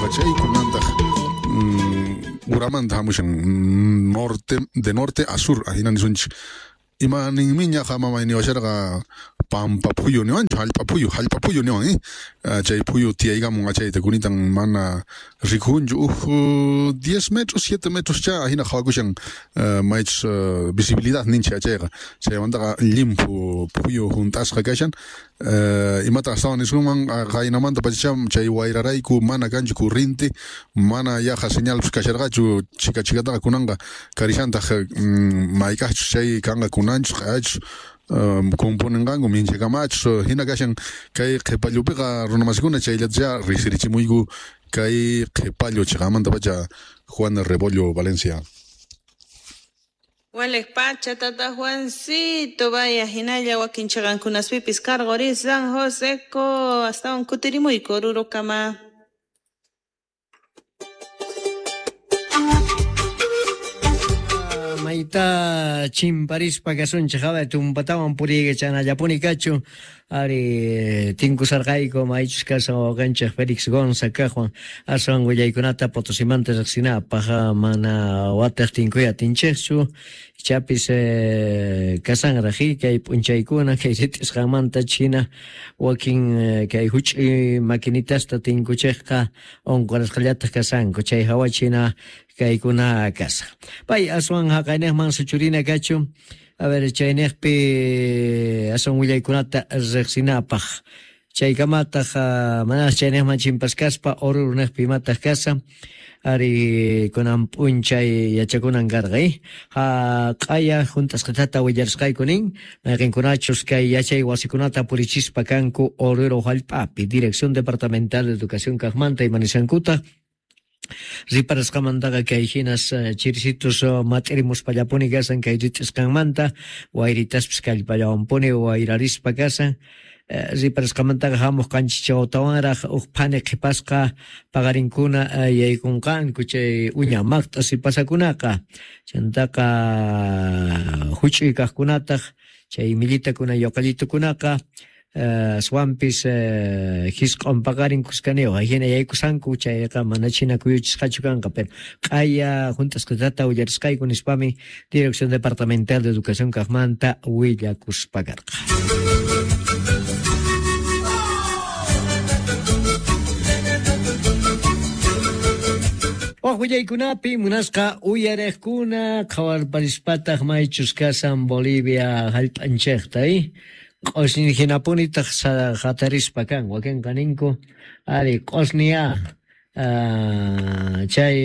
Achay kunantaq uramanta hamushan norte de norte a sur ahina nisunchik ima ninmi ñaqa mamay niwasharqa pampa phuyu niwanchu hallp'a phuyu niwan chay phuyu tiyaykamun achayta kunitan mana rikunchu uj 10 metros 7 metros cha ahina qhawakushan maychus visibilidad ninchik achayqa chaymantaqa llimphu phuyu hunt'asqa kashan imata astawan nisunman qaynamanta pachacham chay wayrarayku mana kanchu corriente mana yaqa señalpis kasharqachu chika chikataqa kunanqa karishantaq mayk'aqchus chay kanqa kunanchus q'ayachus componenqanku minchakamachus hina kashan kay qhipallupiqa runamasikuna chayllatacha riqsirichimuyku kay qhipallu chiqamanta pacha Juan Rebollo Valencia. Waleq pacha tata Juancito vaya hinalla wakin chiqankunaspipis karquri San Joseco astawan kutirimuyku Orurokama. Mayta chimparispa kasunchik hawa tumpatawan puriykachanallapuni kachu ari tinkusarqayku maychus kasan wawqinchik Felix Gonza kaqwan aswan willaykunata Potosimanta riqsinapaq mana wataq tinkuy atinchikchu ichapis kasanraq kay p'unchaykuna kay rit'isqanmanta china wakin kay huch'uy maquinitasta tinkuchikqa unqurasqallataq kasanku chay hawa china kaykuna kasan. Pay aswan haqayniqman suchurina kachu a ver chayniqpi aswan willaykunata riqsinapaq chaykamataq mana chayniqman chimpaskaspa Oruruniqpi imataq kasan ari kunan p'unchay yachakunan karqa q'aya hunt'asqatata willarisqayku nin mayqinkunachus kay yachay wasikunata purichispa kanku Oruro hallp'api Dirección Departamental de Educación kaqmanta imanisqankuta riparasqamantaqa kay hinas chirisitus mat'irimuspallapuni kasan kay rit'isqanmanta wayritaspis kallpallawanpuni wayrarispa kasan riparasqamantaqa hamuq qanchischawtawanraq uj phani qhipasqa paqarinkuna yaykunqanku chay uña maqt'a sipasakunaqa chantaqa huch'uy kaqkunataq chay millitakuna yoqallitukunaqa aswanpis hisq'un paqarin kuskaniyuq hina yaykusanku chayqa mana china kuyuchisqachu kanqa pero q'aya hunt'asqatata willarisqayku nispami Dirección Departamental de Educación kaqmanta willakuspa karqa. Waq willaykunapi munasqa uyariqkuna qhawarparispataq maychus kasan Bolivia hallp'anchikta q'usñi hinapunitaq hatarispa kan wakinqa ninku ari q'usñiya chay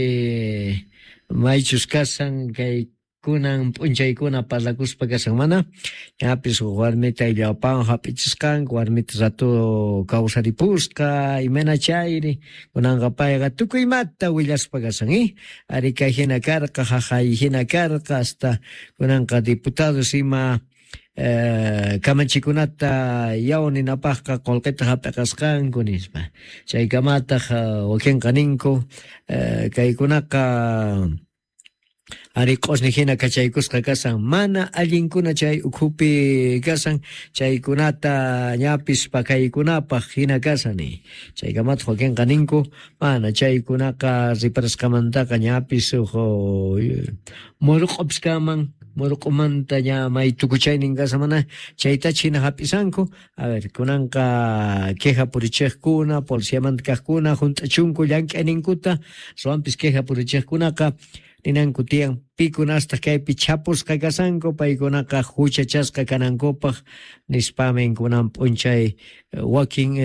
maychus kasan kay kunan p'unchaykuna parlakuspa kasan mana ñapis warmita illawpawan hap'ichisqanku warmita rato kawsaripusqa imayna chayri kunanqa payqa tukuy imata willaspa kasan ari kay hina karqa haqay hina karqa hasta kunanqa diputados ima kamachikunata yaw ninapaqqa qullqita hap'iqasqanku nispa chaykamataq wakinqa ninku kaykunaqa ari q'usñi hina kachaykusqa kasan mana allinkuna chay ukhupi kasan chaykunata ñapis pakaykunapaq hina kasan chaykamataq wakinqa ninku mana chaykunaqa riparasqamantaqa ñapis uj murq'upis kanman murq'umanta ña may tukuchaynin kasan mana chaytacha hina hap'isanku a ver kunanqa queja purichiqkuna policiamanta kaqkuna hunt'achunku llank'ayninkuta aswanpis queja purichiqkunaqa ninanku tiyan pikunastaq kaypi chapusqa kasanku paykunaqa huchachasqa kanankupaq nispamin kunan p'unchay wakin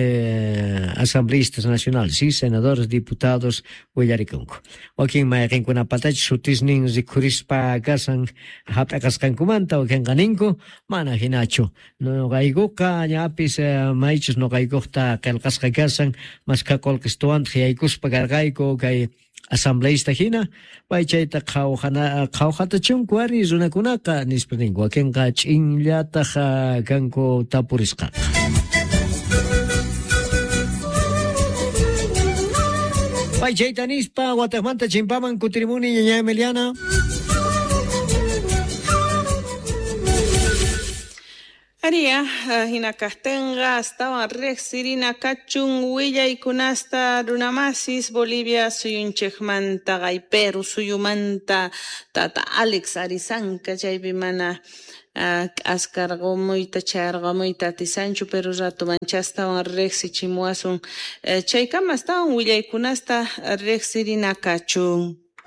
asambleístas nacionales, ¿sí? Senadores, diputados willarikunku wakin mayqinkunapatachu sutisnin rikhurispa kasan hap'iqasqankumanta wakinqa ninku mana hinachu nuqaykuqa ñapis maychus nuqaykuqta qillqasqa kasan maskha qullqistuwantaq yaykuspa karqayku kay asambleísta hina pay chayta qhawqatachunku ari runakunaqa nispa ninku wakinqa ch'inllataq kanku tapurisqaqa. Pay chayta nispa wataqmanta chimpaman kutirimuni ñaña Emiliana. Aria, hina kaqtinqa astawan riqsirina kachun willaykunasta runamasis Bolivia suyunchikmanta Peru suyumanta tata Alex Arizanka chaypi mana k'askarqumuyta chayarqamuyta atisanchu, pero rato manchastawan riqsichimuwasun, chaykama astawan willaykunasta riqsirina kachun.